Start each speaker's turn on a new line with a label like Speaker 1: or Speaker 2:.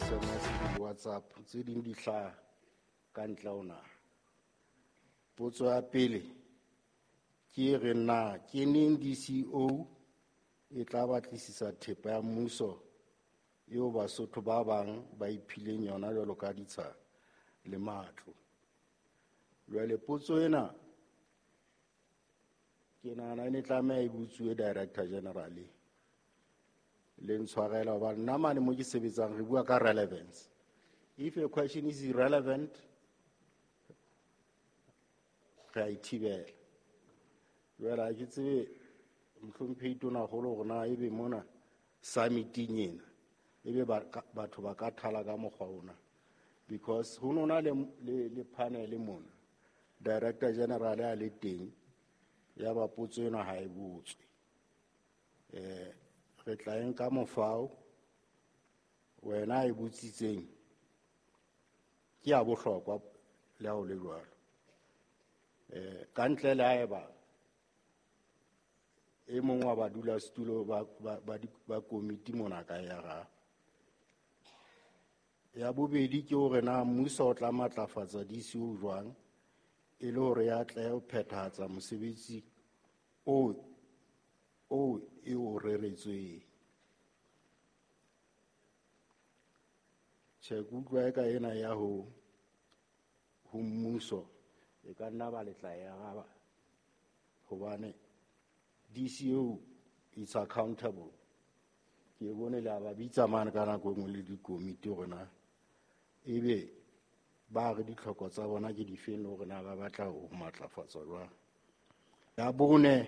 Speaker 1: di-SMS le di-WhatsApp, tse ding di hlaha ka ntle ho naha. Potso ya pele ke e reng na ke neng DCO e tla batlisisa thepa ya mmuso eo Basotho ba bang ba iphileng yona jwalo ka ditsha le matlo. Jwale potso ena ke nahana e ne tlameha e botsuwe Director General le ntshwarela hobane nna mane mo ke sebetsang re bua ka relevance. If a question is irrelevant, re a e thibela. Jwale ha ke tsebe mohlomphehi Tonakgolo hore na ebe mona summiting ena ebe batho ba ka thala ka mokgwa ona, because ho nona le panel mona Director General a le teng, ya ba potso ena ha e botswe. Re tla e nka mofao wena e botsitseng ke ya bohlokwa le ha o le jwalo. Ka ntle le haeba e mong wa badulasetulo ba komiti mona ka ya araba. Ya bobedi ke hore na mmuso o tla matlafatsa DCO jwang e le hore ya tle ho phethahatsa mosebetsi o e o reretsweng. Tjhe, ke utlwa eka ena ya ho mmuso e ka nna ba letla e araba hobane DCO is accountable. Ke bone le a ba bitsa mane ka nako e nngwe le dikomiti hore na ebe ba re ditlhoko tsa bona ke difeng le hore na ba batla ho matlafatswa jwang. Ya bone